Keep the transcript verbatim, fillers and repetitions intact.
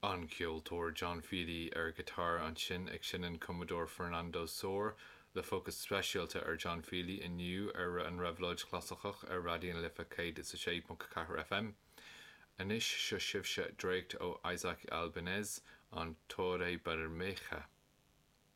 An ceoltóir John Feely ar ghiotár ansin ag seinm cumadóir Fernando Sor le fócas speisialta ar John Feely inniu ar an Réabhlóid Chlasaiceach ar Raidió na Life céad is a sé ponc ceathair FM. Anois seo sibhse dréacht ó Isaac Albéniz an Torre Bermeja.